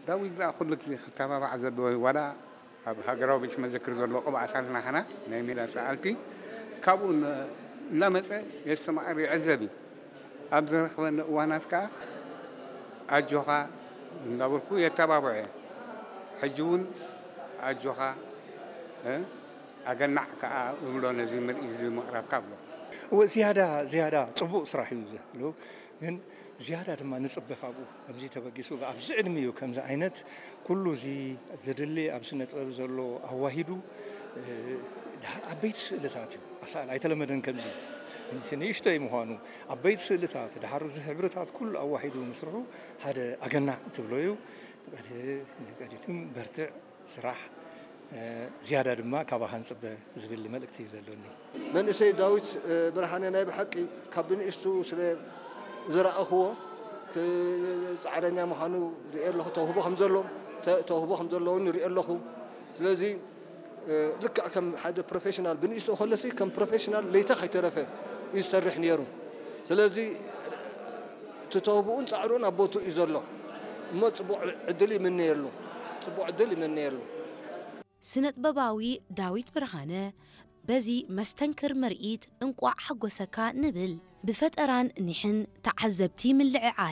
ዳዊት ደኣ ኩሉ ግዜ ክተባባዕ ዘለዎ እዩ። ዋላ ኣብ ሃገራዊ ቤት መዘክር ዘሎ ቅብኣታት ናህና ናይ ሜዳ ሰኣልቲ ካብኡ ን-፣ እናመጸ የስተማቕር ይዕዘብ እዩ። ኣብ ዝረኽበኒ እዋናት ከኣ ኣጆኻ እንዳበልኩ የተባብዖ እየ። ሕጂ እውን ኣጆኻ፣ እ፣ ኣገናዕ ከኣ እብሎ ነዚ ምርኢት እዚ ምቕራብካ እብሎ። እወ፣ ዝያዳ፣ ዝያዳ ጽቡቕ ስራሕ እዩ ዘሎ። ግን ዝያዳ ድማ ንጽበ ካብኡ። ከምዚ ተበጊሱ ኣብዚ ዕድሚኡ ከምዚ ዓይነት ኩሉ እዚ ዘድሊ ኣብ ስነ ጥበብ ዘሎ ኣዋሂዱ፣ እ፣ ድሓር ዓበይቲ ስእልታት እዩ ኣሳእል። ኣይተለመደን ከምዚ። እዚ ንእሽቶይ ምዃኑ፣ ዓበይቲ ስእልታት፣ ድሓር እዚ ሕብርታት ኩሉ ኣዋሂዱ ምስርሑ ሓደ ኣገናዕ ትብሎ እዩ። ንቀዲ-፣ ንቀዲትም በርትዕ ስራሕ፣ እ፣ ዝያዳ ድማ ካባኻ ንጽበ ዝብል መልእክቲ እዩ ዘሎኒ። መንእሰይ ዳዊት፣ እ፣ ብርሃነ ናይ ብሓቂ ካብ ብንእሽቱ ስለ ዝረኣኽዎ፣ ክ-፣ ጻዕረኛ ምዃኑ ርእየ ኣለኹ፣ ተውህቦ ከም ዘሎ፣ ተ-፣ ተውህቦ ከም ዘለዎ እውን ርእየ ኣለኹ። ስለዚ፣ እ፣ ልክዕ ከም ሓደ ፕሮፌሽናል ብንእሽቱ ከሎሲ ከም ፕሮፌሽናል ለይታ ከይተረፈ እዩ ዝሰርሕ ነይሩ። ስለዚ እቲ ተውህቦኡን ጻዕሩን ኣብ ቦትኡ እዩ ዘሎ። እሞ ጽቡቕ ዕድል ይምነየሉ። ጽቡቕ ዕድል ይምነየሉ። ስነጥበባዊ ዳዊት ብርሃነ በዚ መስተንክር ምርኢት እንቋዕ ሓጎሰካ ንብል። ብፈጠራን ኒሕን ተዓዘብቲ ምልዕዓል